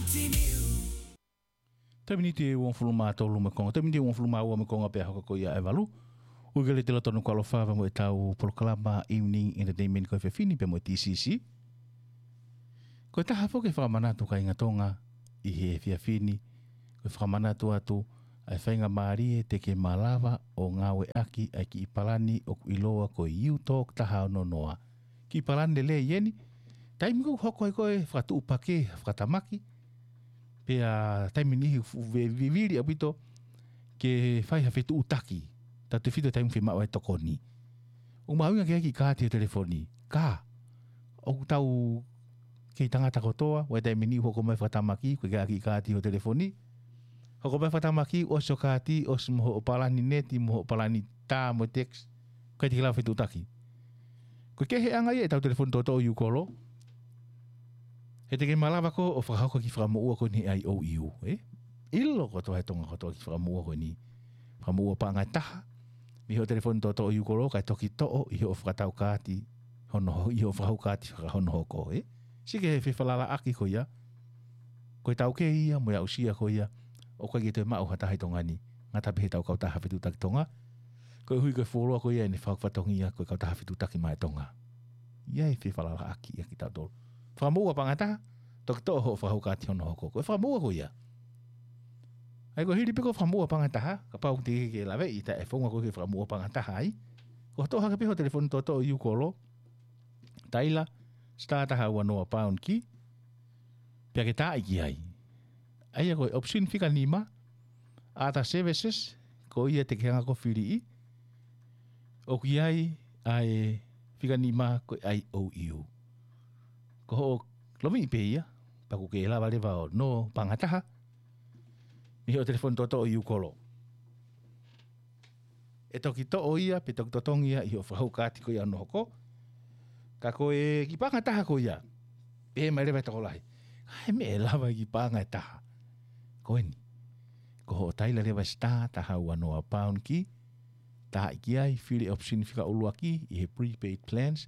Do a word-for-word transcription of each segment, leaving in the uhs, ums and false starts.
Taimi ni ʻe uofulu mā tolu mo e konga, taimi ni ʻe uofulu mā ua mo e konga pea hoko ko ia e valu. ʻOku kei lele atu ʻa e tonu kualofa mo ʻetau polokalama Evening Entertainment ko e efiafi ni pea mo e T C C. Ko e taha foki e fakamanatu kāinga Tonga ʻi he efiafi ni, ko e fakamanatu atu ʻa e faingamālie te ke malava ʻo ngāueʻaki ʻa e kiʻi palani ʻoku ʻiloa ko e U-Talk taha ono noa. Kiʻi palani lelei eni, taimi ʻoku hoko ai ko e fakatuʻupakē fakatamaki, pea taimi niʻihi ʻoku fuʻu ve-, vivili ʻaupito ke fai ha fetuʻutaki, tautefito taimi ʻoku fiemaʻu ai e tokoni. ʻOku mahuʻinga ke ʻai e kiʻi kaati ʻi ho telefoni. Ka ʻoku tau kei tangata kotoa, ʻoku ʻi ai e taimi niʻihi ʻoku hoko mai e fakatamaki, ʻoku ʻikai ke ʻai e kiʻi kaati ʻi ho telefoni. Hoko mai e fakatamaki, ʻosi hoʻo kaati, ʻosi mo hoʻo palani neti, mo hoʻo palani tā, mo e text, ʻikai te ke lava fetuʻutaki. Ko e keheʻanga ia ʻetau telefoni toʻotoʻo U-Call, he te ke malava koe ʻo fakahoko e kiʻi fakamoʻua ko eni he I O U, ē? ʻIlo kotoa ʻe he Tonga kotoa e kiʻi fakamoʻua ko eni. Fakamoʻua paʻanga ʻe taha mei hoʻo telefoni toʻotoʻo U-Call, kae toki toʻo ʻi hoʻo fakatau kaati hono ho-, ʻi hoʻo fakahoko e kaati hono hoko, ē? Sio ki he fefalalaʻaki ko ia. Ko e taukei ia mo e aʻusia ko ia, ʻoku ʻikai ke toe maʻu ha taha ʻi Tonga ni, ngata pē heʻetau kautaha fetuʻutaki Tonga. Koeʻuhi ko e fuoloa ko ia ʻene fakafatongia ko e kautaha fetuʻutaki maʻa e Tonga. ʻI ai e fefalalaʻaki ia kiate kitautolu. Fakamoʻua paʻanga ʻe taha, toki toʻo hoʻo fakahoko e kaati hono hoko. Ko e fakamoʻua ko ia. ʻA ia ko e hili pē ko e fakamoʻua paʻanga ʻe taha, kapau te ke laveʻi ʻa e founga ko ē ke fakamoʻua paʻanga ʻe taha ai, ko hoʻo toʻo hake pē hoʻo telefoni toʻotoʻo U-Call, taila star taha ua noa pound key, pea ke taaʻi ki ai. ʻA ia ko e option fika nima, other services, ko ia te ke hanga ʻo filiʻi, ʻoku ʻi ai ʻa e fika nima ko e I O U. Ko hoʻo lomiʻi pē ia, pea ʻoku ke lava leva ʻo nō paʻanga ʻe taha mei hoʻo telefoni toʻotoʻo U-Call. ʻE toki toʻo ia, pe toki totongi ia ʻi hoʻo fakahoko e kaati ko ia hono hoko. Ka ko e kiʻi paʻanga ʻe taha ko ia, pehē mai leva e tokolahi, ʻa e meʻa ʻe lava ʻi he kiʻi paʻanga ʻe taha ko eni, ko hoʻo taila leva e star taha ua noa pound key, taaʻi ki ai, fili e option fika ʻuluaki ʻi he prepaid plans,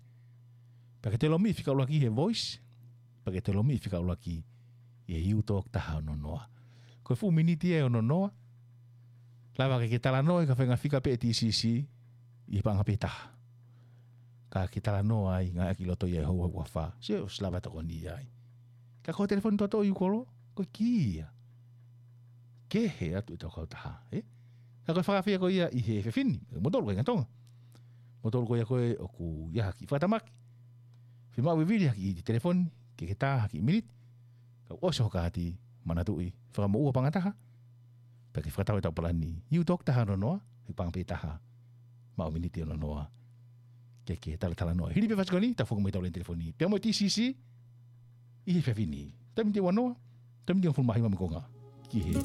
pea ke toe lomiʻi fika ʻuluaki he voice, pea ke toe lomiʻi fika ʻuluaki ʻi he U-Talk taha ono noa. Ko e fuʻu miniti ia ʻe ono noa. Lava ke ke talanoa ʻi he faʻahinga fika pē ʻe T C C ʻi he paʻanga pē ʻe taha. Ka ke talanoa ai, ngāueʻaki ʻi loto ia ʻi he houa ʻe fā. Sio, ʻosi lava e tokoni ai. Ka ko e telefoni toʻotoʻo U-Call, ko e kī ia. Kehe atu ʻetau kautaha, ē? Ka ko e fakaafeʻi ko ia ʻi he efiafi ni, kimoutolu kāinga Tonga. Kimoutolu ko ia ko ē ʻoku ʻi ai ha kiʻi fakatamaki, fiemaʻu vivili ha kiʻi telefoni, ke ke tā ha kiʻi miniti, kae ʻosi hoʻo kaati, manatuʻi, fakamoʻua paʻanga ʻe taha, pea ke fakatau ʻetau palani U-Talk taha ono noa, he paʻanga pē ʻe taha, maʻu miniti ʻe ono noa, ke ke talatalanoa. Hili pē fasi ko eni, tau foki mai ʻetau lēni telefoni pea mo e T C C ʻi he efiafi ni. Taimi ni ʻe ua noa, taimi ni ʻe hongofulu mā hiva mo e konga ki he